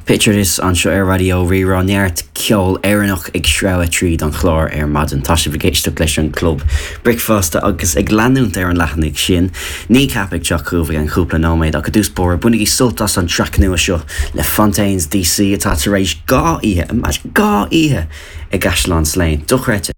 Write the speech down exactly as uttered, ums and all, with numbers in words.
Picture This anseo ar Raidió Rí-Rá neart ceol Éireannach ag sreabhadh tríd an chlár ar maidin tá sibh ag éisteacht leis an Club Bricfeasta agus ag leanúint ar an leathanach sin. Kneecap ag teacht chugaibh i gcúpla nóiméad ach i dtús báire bainigí sult as an traic nua seo le Fontaines DC atá tar éis dhá oíche dhá oíche i gCaisleán Slane. Dochreidte.